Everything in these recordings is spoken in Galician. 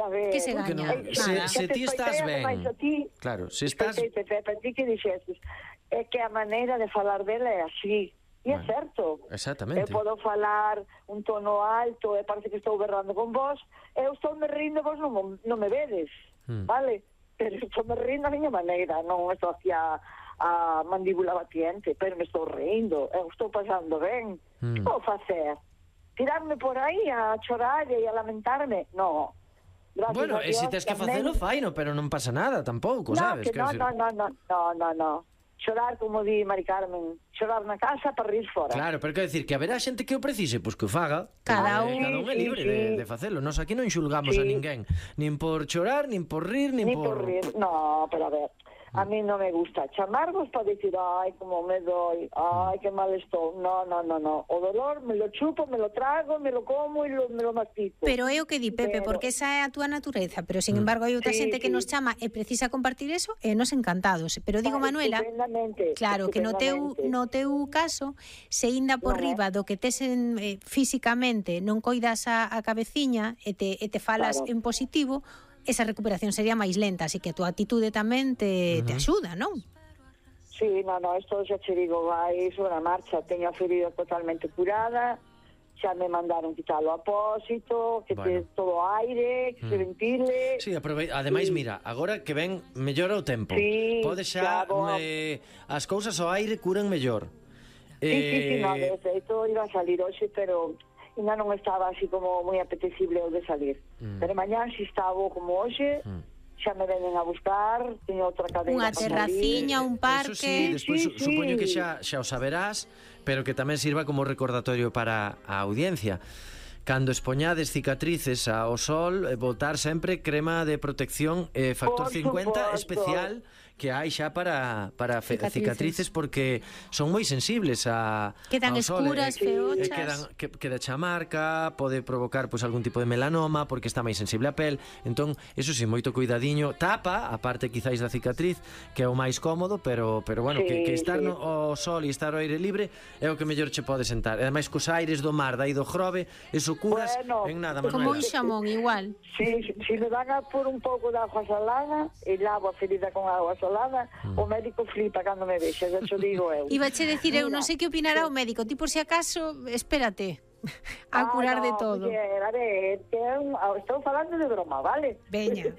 a ver... Que se Porque gaña? non, se ti estás ben. Claro, se estás... Para ti que dixestes, é que a maneira de falar dela é así. E é certo. Exactamente. Eu podo falar un tono alto e parece que estou berrando con vos, eu estou me rindo, vos non me vedes, vale? Pero estou me rindo a miña maneira, non estou aquí a mandíbula batiente, pero me estou rindo, eu estou pasando ben. Que vou facer? Tirarme por aí a chorar e a lamentarme? No. Gracias Bueno, a e se Dios, tes que tamén... facelo, faino, pero non pasa nada tampouco, sabes? Que no. Chorar, como di Mari Carmen, chorar na casa para rir fora. Claro, pero quero dicir que haberá xente que o precise, pois que o faga. Cada un é libre de facelo. Nós aquí non xulgamos a ninguén, nin por chorar, nin por rir, nin por... rir. No, pero a ver, a mí non me gusta chamarvos para dicir, ai, como me doi, ai, que mal estou. No. O dolor me lo chupo, me lo trago, me lo como e me lo mastico. Pero é o que di Pepe, porque esa é a túa natureza, pero sin embargo hai outra xente que nos chama e precisa compartir eso e nos encantados. Pero digo, Manuela, claro, que no teu caso, se inda por riba do que tes físicamente non coidas a cabeciña e te falas en positivo, esa recuperación sería máis lenta, así que a túa atitude tamén te axuda, non? Sí, no, isto xa che digo, vai sobre a marcha, teño a ferida totalmente curada, xa me mandaron quitalo a apósito, que te todo aire, que se ventile. Sí, ademais, mira, agora que ven mellora o tempo, pode xa as cousas ao aire curan mellor. Sí, no, de feito iba a salir hoxe, pero ainda non estaba así como moi apetecible o de salir. Pero mañán si estaba como hoxe, xa me venen a buscar, teño outra cadeira. Unha terraciña, un parque... Eso sí, despois supoño que xa o saberás, pero que tamén sirva como recordatorio para a audiencia. Cando expoñades cicatrices ao sol, botar sempre crema de protección factor 50 especial que hai xa para cicatrices, porque son moi sensibles quedan ao sol, escuras, feochas, queda chamarca, pode provocar pois algún tipo de melanoma porque está máis sensible a pel. Entón, eso sí, moito cuidadiño, tapa a parte quizáis da cicatriz, que é o máis cómodo, pero bueno, que estar ao sol e estar ao aire libre é o que mellor che pode sentar. E ademais cos aires do mar, dai do Grove, eso curas en nada, Manuela. Como un xamón igual. Si me van a por un pouco de agua salada e lavo a ferida con agua salada, o médico flipa cando me vexa, xa te digo eu. Iba che decir, eu non sei que opinará o médico, ti por si acaso, espérate a curar de todo. A ver, estou falando de broma, vale? Veña.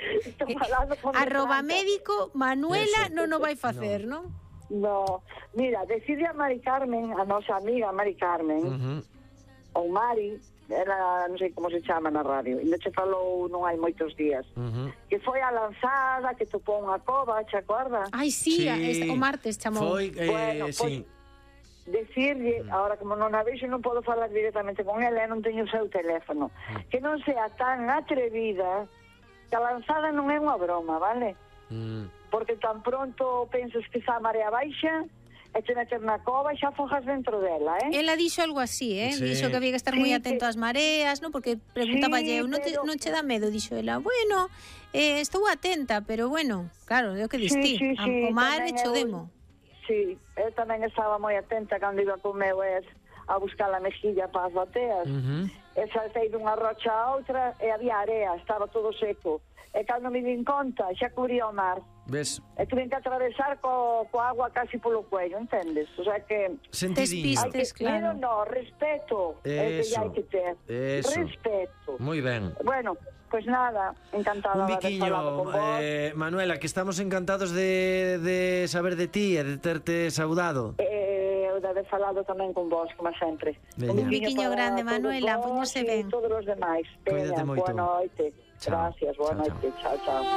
Arroba médico, Manuela non o vai facer, non? No, mira, decide a Mari Carmen, a nosa amiga Mari Carmen, ou Mari, ela non sei como se chama na radio, ainda che falou non hai moitos días, que foi a lanzada, que topou unha cova, che acorda? Ai, sí, o martes chamou. Foi, sí. Decirlle, ahora como non a vexo non podo falar directamente con ela, non teño o seu teléfono, que non sea tan atrevida, que a lanzada non é unha broma, vale? Porque tan pronto pensas que está a marea baixa e te meter na cova e xa fojas dentro dela, Ela dixo algo así, dixo que había que estar moi atento ás mareas, non? Porque preguntaba eu, non che dá medo? Dixo ela, bueno, estou atenta, pero bueno, claro, é o que distí, o mar e chodemo. Sí, eu tamén estaba moi atenta cando iba co meu a buscar a mexilla para as bateas, e saltei dunha rocha a outra e había area, estaba todo seco, e cando me din conta xa cubría o mar. Ves? E tuve que atravesar coa agua casi polo cuello, entendes? O sea que... Sentidinho. Claro. No, respeto. Eso. Hai que ter. Eso. Respeto. Moi ben. Bueno, pues nada, encantada de haber falado con vos. Manuela, que estamos encantados de saber de ti e de terte saudado. Eu de haber falado tamén con vos, como sempre. Un biquiño grande, Manuela, póñose ben. E todos os demais. Cuídate moito. Boa noite. Gracias, boa noite. Chao, chao.